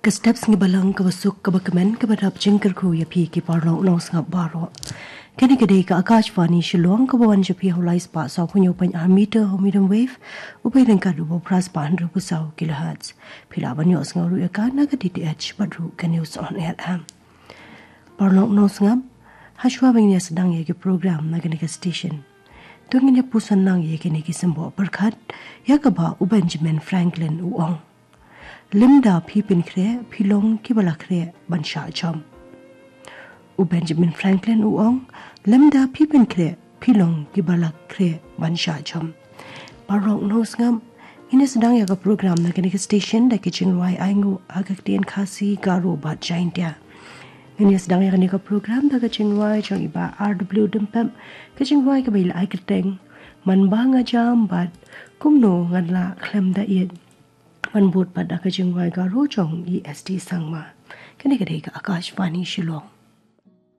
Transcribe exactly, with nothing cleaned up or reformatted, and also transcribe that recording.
Ka step sngi balang kaba suk kaba kmen kaba dap jingkyrkhu ïa phi ki paralok nongsngap baroh. Kane ka dei ka Akashvani Shillong kaba wan sha phi ha u lai spah saw phew hynñiew point ar meter ha u medium wave, uba ïadei bad u bor phra spah hynriew phew saw kilohertz. Phi lah ban ïohsngew ruh ïa ka na ka D T H bad ruh ka News on Air app. Paralok nongsngap, hashwa ba ngin ïa sdang ïa ki program na kane ka station, to ngin ïa puson lang ïa kine ki symboh pyrkhat ïa kaba u Benjamin Franklin u ong: Lymda phi pynkhreh, phi long kiba la khreh ban shah jam. U Benjamin Franklin u ong: Lymda phi pynkhreh, phi long kiba la khreh ban shah jam. Paralok nongsngap, ngin ïa sdang ïa ka program na kane ka station da ki jingrwai ainguh ha ka ktien Khasi, Garo bad Jaintia. Ngin ïa sdang ïa kane ka program da ka jingrwai jong i Bah R W Dympep, ka jingrwai kaba i la ai kyrteng Man ba nga jam bad Kumno ngan lah khlem da ïeit. Ban bud pat da ka jingrwai Garo jong i S T Sangma. Kane ka dei ka Akashvani Shillong.